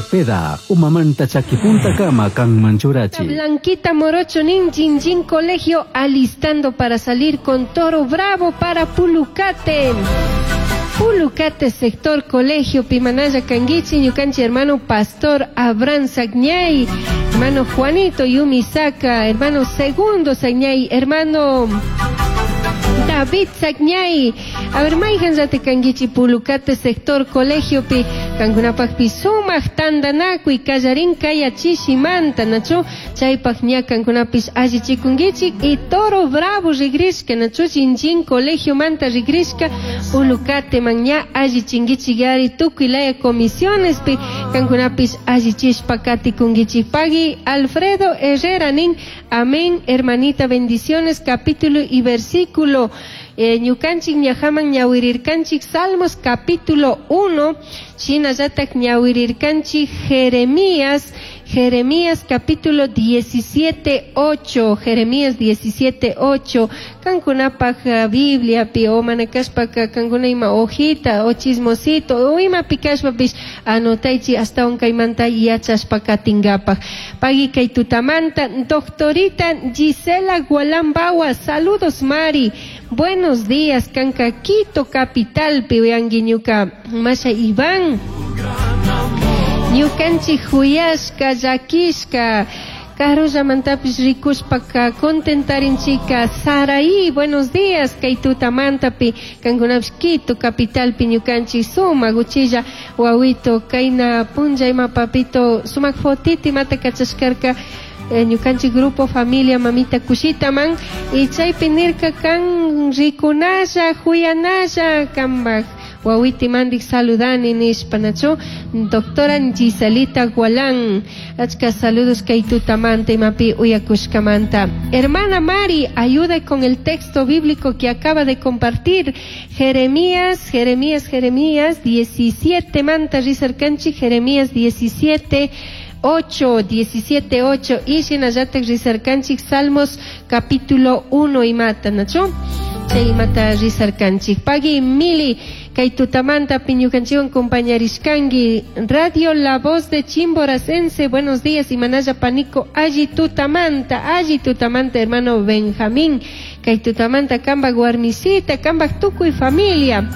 Cepeda, umamanta chakipuntakama kanman churachi. Blanquita Morocho nin Jinjin Colegio alistando para salir con toro bravo para Pulucate. Pulucate sector colegio Pimanaya Canguichi, ñukanchi hermano Pastor Abraham Sagñay, hermano Juanito Yumisaka, hermano Segundo Sagñay, hermano David Sagñay. A ver, mayhan llati kanguichi Pulucate sector colegio pi kankunapaqpi sumaq tantanakuy kallarin kay chishimanta nachu chaypaq ña kankunapis allichikunkichik y toro bravo rigrishka nachu Jinjin colegio manta rigrishka Pulucate man ña allichinkichik ari tukuy laya comisiones pi kankunapis allichishpa katikunkichik. Pagui Alfredo Herrera nin amén hermanita, bendiciones, capítulo y versículo. Ñukanchik ñajaman ñawirirkanchik Salmos capítulo 1, shinallatak ñawirirkanchik Jeremías, Jeremías capítulo 17, 8, Jeremías 17, 8, kankunapaj Biblia pi o manakashpaka kankuna ima hojita o chismosito o ima pikashpapish anotaychi hasta kaymanta yachashpa katingapaj. Pagui kay tutamanta, doctorita Gisela Gualambawa, saludos Mari, buenos días, kanka Quito capital, piuyangi ñuka masha Iván. Ñukanchik huyashka, llakishka, karullamantapish rikushpaka contentarinchika. Saraí, buenos días, kay tutamantapi, kankunapish Quito capitalpi ñukanchik sumak uchilla wawito, kayna punlla ima papito, sumak fotito imata kachashkarka, ñukanchik grupo familia mamita kushitaman, y chaypi nirka kan rikunalla, huyanalla, kambaj wawiti mandik saludani nishpa nachu, doctora Giselita Gualán, achka saludos kay tutamanta imapi uyakushkamanta. Hermana Mari, ayuda con el texto bíblico que acaba de compartir, Jeremías, Jeremías, Jeremías 17 manta rizarkanchi, Jeremías 17, 8, 17, 8, y shinallatak rizarkanchik Salmos capítulo 1 y mata, nachu, chay mata rizarkanchik. Pagui Mili, kay tutamanta piñukanchiwan compañarishkangi, Radio La Voz de Chimboracense, buenos días, Imanaya Panico, alli tutamanta, alli tutamanta, hermano Benjamín, kay tutamanta, kamba guarmisita, kamba tukuy familia.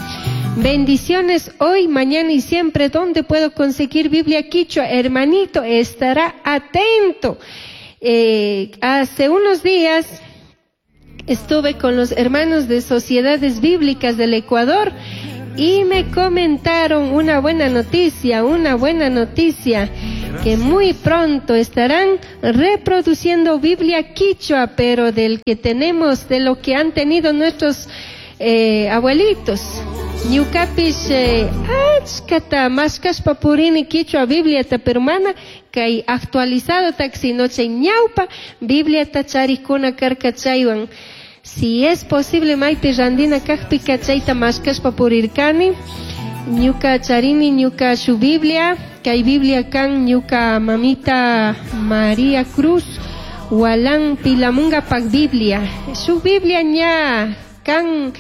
Bendiciones hoy, mañana y siempre. ¿Dónde puedo conseguir Biblia Quichua? Hermanito, estará atento. Hace unos días estuve con los hermanos de Sociedades Bíblicas del Ecuador y me comentaron una buena noticia, una buena noticia, que muy pronto estarán reproduciendo Biblia Quichua, pero del que tenemos, de lo que han tenido nuestros abuelitos. Ñukapish, achkata mashkashpa purini Quichua Bibliata, pero mana kay actualizado taxi chay ñawpa Bibliata charikuna karka chaywan. Si es posible maypi randina kajpi kachayta mashkashpa purirkani. Ñuka charini ñuka shu Biblia, kay Biblia kan ñuka mamita María Cruz Walán Pilamunga pak Biblia. Shu Biblia ña kan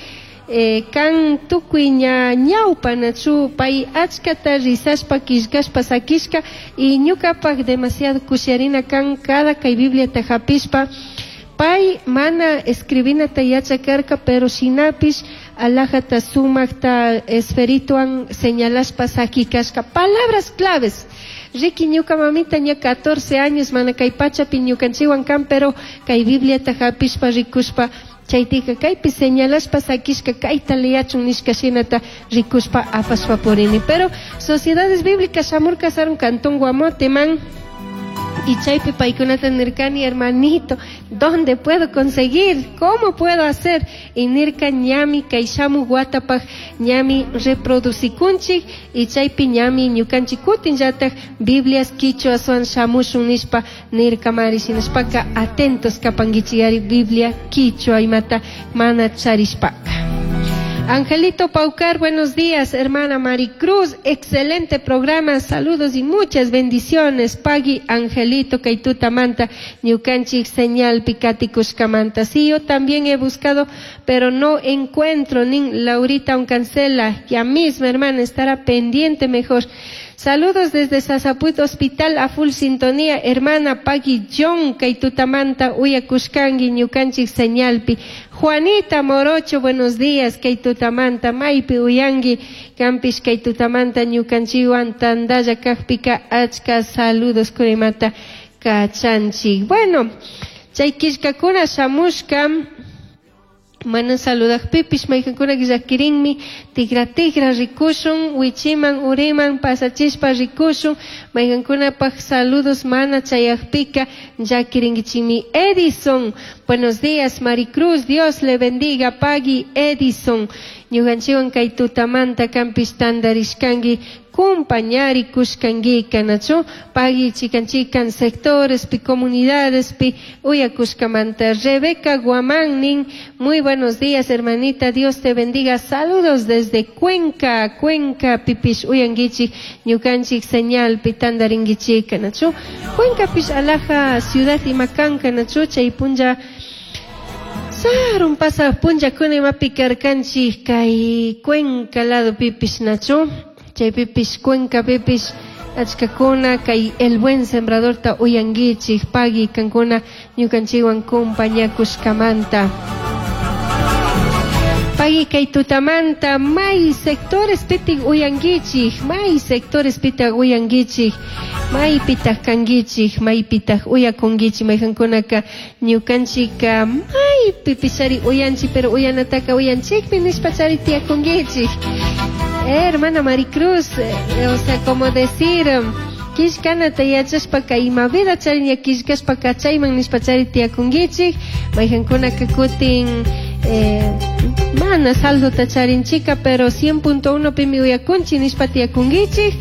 kan tukuy ña ñawpa nachu pay achkata risashpa killkashpa sakishka y ñukapak demasiado kusharina kan cada kay Bibliata hapishpa. Pay mana escribinata yachakarka, pero shinapish alajata sumakta esferituan señalashpa sakikashka palabras claves. Riki ñuka mamita ña 14 años mana kay pachapi ñukanchiwan kan, pero kay Bibliata hapishpa rikushpa chaytika kaypi señalashpa sakishka kayta leyachun nishka shinata rikushpa apashpa purini. Pero Sociedades Bíblicas shamurka sarun cantón Guamote man, y chaypi paykunata nirkani, hermanito, ¿dónde puedo conseguir? ¿Cómo puedo hacer? Y nirka ñami kay shamu watapaj ñami reproducikunchik y chaypi ñami ñukanchik kutin llataj Biblias quichua suan shamushun nishpa nirka mari shinashpaka atentos kapankichiyari Biblia quichua imata mana charishpaka. Angelito Paucar, buenos días, hermana Maricruz, excelente programa, saludos y muchas bendiciones. Pagui Angelito, Kaituta Manta, Ñukanchik señal Picati Cushcamanta. Sí, yo también he buscado, pero no encuentro, nin Laurita Uncancela, ya misma hermana, estará pendiente mejor. Saludos desde Sasaput Hospital a full sintonía, hermana Pagui John, kay tutamanta uyakushkangi ñukanchik señalpi. Juanita Morocho, buenos días, kay tutamanta maypi uyangi, kampish kay tutamanta ñukanchikwan tandalla kajpika achka saludos kurimata kachanchik. Bueno, chay killkakuna shamushka, mana saludajpipish maykankuna llakirinmi tigra tigra rikushun wichiman uriman pasachishpa rikushun maykankunapaj saludos mana chayajpika llakirinkichikmi. Edison, buenos días Maricruz, Dios le bendiga, pagui Edison, ñukanchikwan kay tutamanta kampish tantarishkanki kumpañari kushkankika nachu pagui chikan chikan sectorespi comunidadespi uyakushkamanta. Rebeca Guamán nin, muy buenos días hermanita, Dios te bendiga, saludos desde Cuenca, Cuenca pipish uyankichik ñukanchik señalpi tantarinkichika nachu Cuenca pish alaja ciudad imakanka nachu chay punlla sarun pasaq punllakuna imapi karkanchik kay Cuenca lado pipish nachu chaypipish Cuenca pipish achkakuna kay El Buen Sembradorta uyankichik pagui kankuna ñukanchikwan kumpañakushkamanta. Pagui kay tutamanta may sectores pitik uyankichik, may sectores pitak uyankichik, may pitaq kankichik, may pitaq uyakunkichik, mayqankunaka ñukanchika may pipishari uyanchik, pero uyanataka uyanchikmi nishpachari tiyakunkichik. Hermana Maricruz, o sea, como decir, killkanata yachashpaka ima vida chariña killkashpaka chayman nishpachari tiyakunkichik, mayqankunaka kutin mana saldota charinchika, pero 100.1 pimi uyakunchik nishpa tiyakunkichik.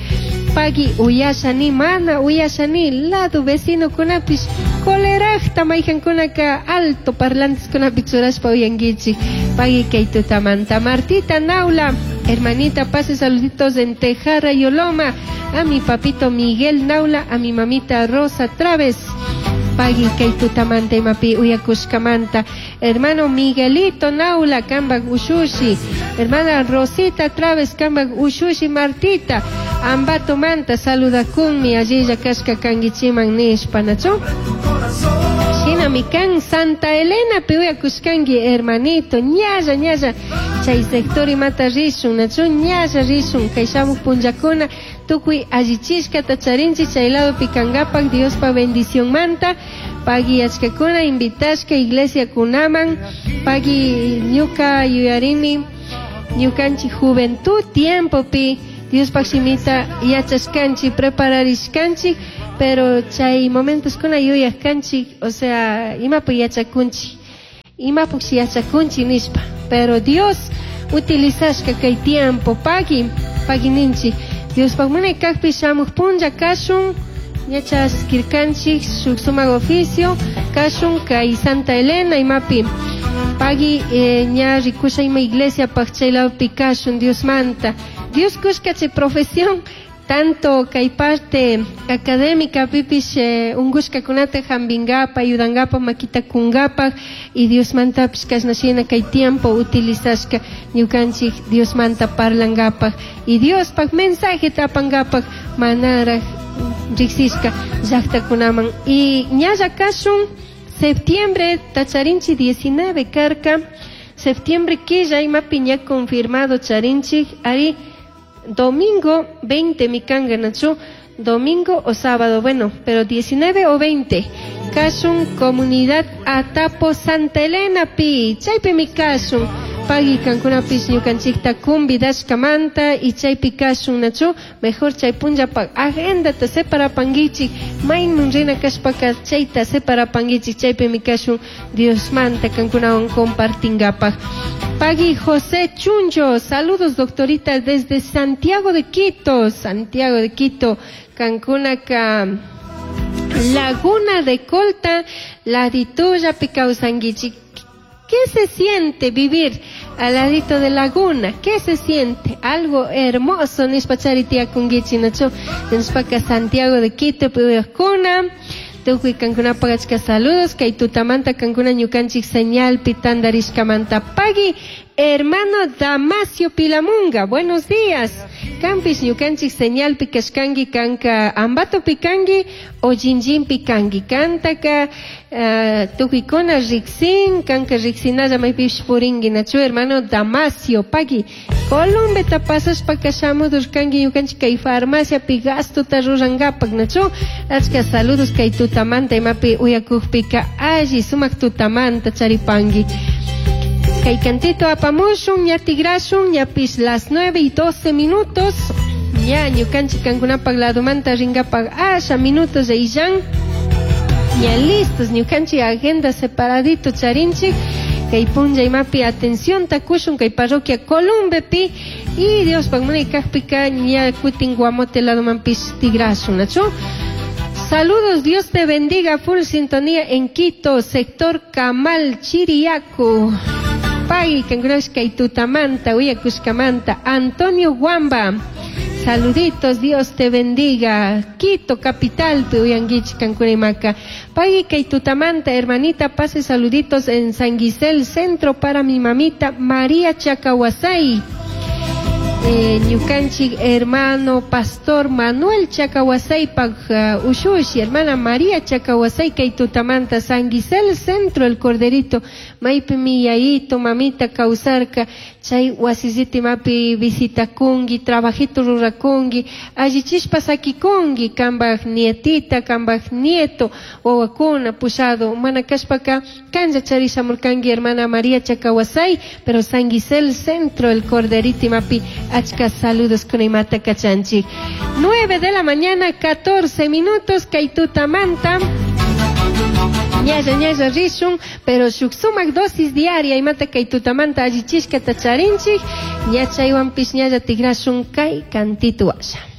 Pagui uyashani, mana uyashani, lado vecino kunapish colerajta mayqankunaka alto parlantes kunapi churashpa uyankichik. Pagui kay tutamanta. Martita Naula, hermanita, pase saluditos en Tejara y Oloma, a mi papito Miguel Naula, a mi mamita Rosa Traves. Pagui kay tutamanta imapi uyakushkamanta. Hermano Miguelito Naula, kambak ushushi. Hermana Rosita Traves, kambak ushushi Martita. Ambato manta saludakunmi allilla kashka kankichiman nishpa nachu. Shinami kan Santa Elena pi uyakushkanki hermanito, ñalla ñalla chay sector imata rishun nachu, ñalla rishun kay shamuj punllakuna tukuy allichishkata charinchik chay lado pikankapak Diospa bendición manta. Pagui achkakuna invitashka iglesia kunaman, pagui ñuka yuyarini ñukanchik juventud tiempopi Diospaj shimita yachashkanchik prepararishkanchik, pero chay momentos kuna yuyajkanchik, o sea, imapi yachakunchik, imapukshi yachakunchik nishpa, pero Dios utilizashka kay tiempo, pagui, pagui ninchik, Diospaj munay kajpi shamuj punlla kashun, yachaskirkanchik shuk sumak oficio, kashun kay Santa Elena imapi, pagui ña rikusha ima iglesia paj chay ladopi kashun Diosmanta. Dios kushka chay profesión, tanto kay parte académica pipish ungushkakunata jambingapa, ayudangapa, makita kungapa, y Diosmantapish kashna shina kay tiempo utilizashka ñukanchik Diosmanta parlangapaj y Diospaj mensaje tapangapaj manaraj riksishka llaqtakunaman. Y ñalla kashun septiembre tacharinchi 19 karka, septiembre killa imapi ña confirmado charinchik, ari domingo 20 mikanga nachu, domingo o sábado, bueno, pero 19 o 20 kashun comunidad Atapo Santa Elena pi, chaypi mi kashun, pagui kankunapish ñukanchikta kumbidashkamanta y chaypi kashun nachu, mejor chay punllapaj agendata separapankichik, mayman rina kashpaka chayta separapankichik, chaypi mi kashun Diosmanta kankunawan compartingapaj. Pagui José Chuncho, saludos doctorita desde Santiago de Quito, Santiago de Quito, kankunaka Laguna de Colta, ladituya picausanguichi. ¿Qué se siente vivir al ladito de laguna? ¿Qué se siente? Algo hermoso, nishpachari tía kungichi nacho, nishpaka Santiago de Quito, puyakuna. Tukuy kankunapaq achka saludos, kay tutamanta kankuna ñukanchik señal pitandarishkamanta. Pagui Hermano Damasio Pilamunga, buenos días. Kanpish ñukanchik señalpi kashkanki kanka Ambatopi kanki o Jinjinpi kanki. Kantaka tukuykuna riksin, kanka riksinalla maypish purinki nachu hermano Damasio pagui. Colombeta pasashpaka shamudurkanki ñukanchik kay farmaciapi gastota rurankapak nachu. Achka saludos kay tutamanta imapi uyakukpika alli sumak tutamanta charipanki. Kay cantito apamushun, ña tigrashun, ñapish las 9:12. Ña ñukanchik kankunapak ladumanta rinkapak asha minutos illan. Ña listos, ñukanchik agenda separadito charinchik. Kay punlla imapi atención takushun kay parroquia Columbepi y Dios munay kajpika ña kutin Guamote ladumanpish tigrashun, nachu. Saludos, Dios te bendiga, full sintonía en Quito, sector Camal, Chiriaco. Pagui, kankunash kay tutamanta, uyakushkamanta, Antonio Guamba. Saluditos, Dios te bendiga. Quito, capital, uyanguich, kankunaimaka. Pagui, kay tutamanta, hermanita, pase saluditos en San Gisel, centro para mi mamita María Chacahuasay. Ñukanchik hermano pastor Manuel Chacahuasay pag ushushi, hermana María Chacahuasay kay tutamanta San Gisel centro el Corderito maypi mi yayito mamita kawsarka chay wasisiti mapi visitakunki trabajito rurakunki allichishpa sakikunki kambaj nietita kambaj nieto wawakuna pushado mana kashpaka kanja charishamurkanki hermana María Chacahuasay pero San Gisel centro el Corderito mapi achka saludos con imata kachanchik. 9 de la mañana, 14 minutos, kay tutamanta. Ñalla, ñalla rishun, pero shuk sumak dosis diaria imata kay tutamanta allichishka tacharinchik. Ñachaywanpish ñalla tigrashun kay cantito asha.